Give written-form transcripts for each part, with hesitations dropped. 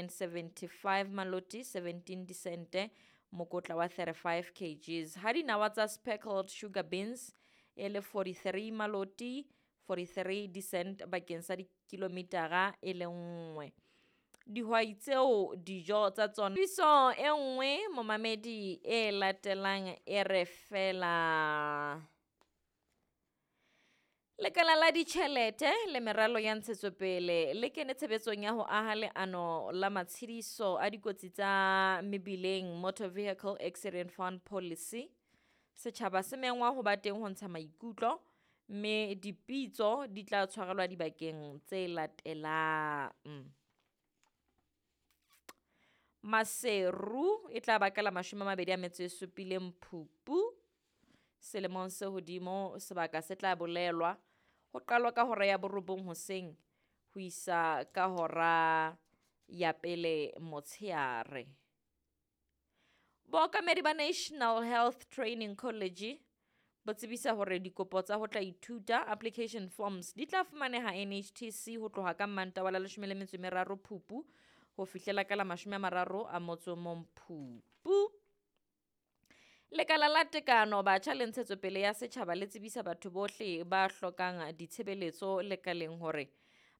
rand 75 maloti 17 disente mokotla wa 35 kgs. Ha dinawa tsa speckled sugar beans e le 43 maloti 43 dicent bakeng sa dikilomitara e le nngwe. Dihwai tseo dijo tsa tsona. Tsebiso e nngwe momamedi e latelang e re fela. Lekala la ditjhelete le meralo ya ntshetsopele le kene tshebetsong ya ho aha leano la matshediso a dikotsi tsa mebileng Motor Vehicle Accident Fund Policy. Setjhaba se mengwa ho ba teng ho ntsha maikutlo mme dipitso di tla tshwarelwa dibakeng tse latelang. Maseru e tla ba ka la 27 Phupu selemong se hodimo, sebaka se tla bolelwa ho qalwa ka hora ya 9 hoseng ho isa ka hora ya 1 motsheare. Bookamedi ba National Health Training College bo tsebisa hore dikopo tsa ho tla ithuta application forms di tla fumaneha NHTC ho tloha ka Mmantaha wa la 13 Phupu ho fihlela ka la 31 Phupu. Lekala la Tekano Batjha le Ntshetsopele ya Setjhaba le tsebisa batho bohle ba hlokang ditshebeletso lekaleng hore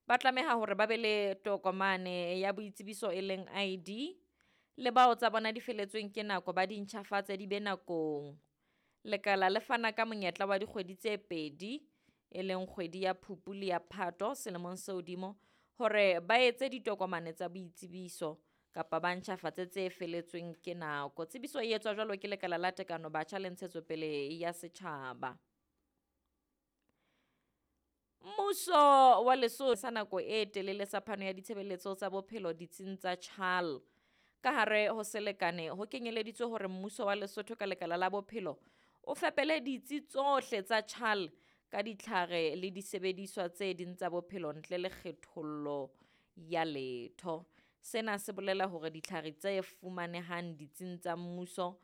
ba tlameha hore ba be le tokomane ya boitsebiso e leng ID le bao tsa bona di feletsweng ke nako ba di ntjhafatse di be nakong. Lekala le fana ka monyetla wa dikgwedi tse 2 e leng kgwedi ya Phupu le ya Phato selemong se hodimo hore ba etse ditokomane tsa boitsebiso kapa ba ntjhafatse tse feletsweng ke nako. Tsebiso e etswa jwalo ke Lekala la Tekano Batjha le Ntshetsopele ya Setjhaba. Mmuso wa Lesotho sa nako e telele sa phano ya ditshebeletso tsa bophelo ditsing tsa CHAL. Ka hare ho selekane ho kenyeleditswe hore mmuso wa Lesotho ka Lekala la Bophelo o fepele ditsi tsohle tsa CHAL ka ditlhare le disebediswa tse ding tsa bophelo ntle le kgethollo ya letho. Sena se bolela hore ditlhare tse fumanehang ditsing tsa mmuso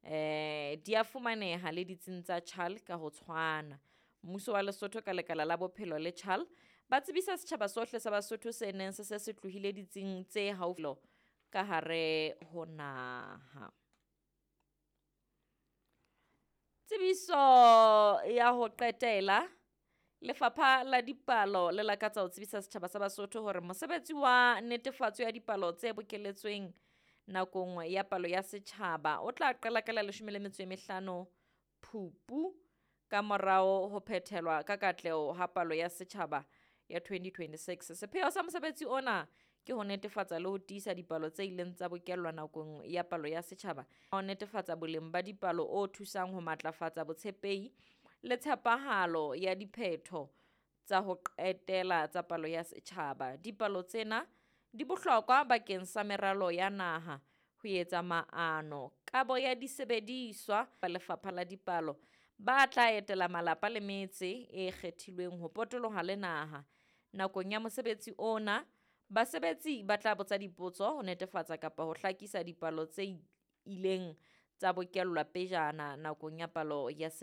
di a fumaneha le ditsing tsa CHAL ka ho tshwana. Mmuso wa Lesotho ka Lekala la Bophelo le CHAL ba tsebisa setjhaba sohle sa Basotho se neng se se se tlohile ditsing tse haufi ka hare ho naha. Tsebiso ya ho qetela, Lefapha la Dipalo le lakatsa ho tsebisa setjhaba sa Basotho hore mosebetsi wa netefatso ya dipalo tse bokeletsweng nakong ya palo ya setjhaba o tla qala ka la 15 Phupu ka morao ho phethelwa ka katleho ha palo ya setjhaba ya 2026. Sepheo sa mosebetsi ona ke ho netefatsa le ho tiisa dipalo tse ileng tsa bokellwa nakong ya palo ya setjhaba, ho netefatsa boleng ba dipalo o thusang ho matlafatsa botshepehi le tshepahalo ya diphetho tsa ho qetela tsa palo ya setjhaba. Dipalo tsena di bohlokwa bakeng sa meralo ya naha, ho etsa maano, kabo ya disebediswa ba Lefapha la Dipalo ba tla etela malapa le metse e kgethilweng ho potoloha le naha. Nakong ya mosebetsi ona, basebetsi ba tla botsa dipotso ho netefatsa kapa ho hlakisa dipalo tse ileng tsa bokellwa pejana nakong ya palo ya setjhaba.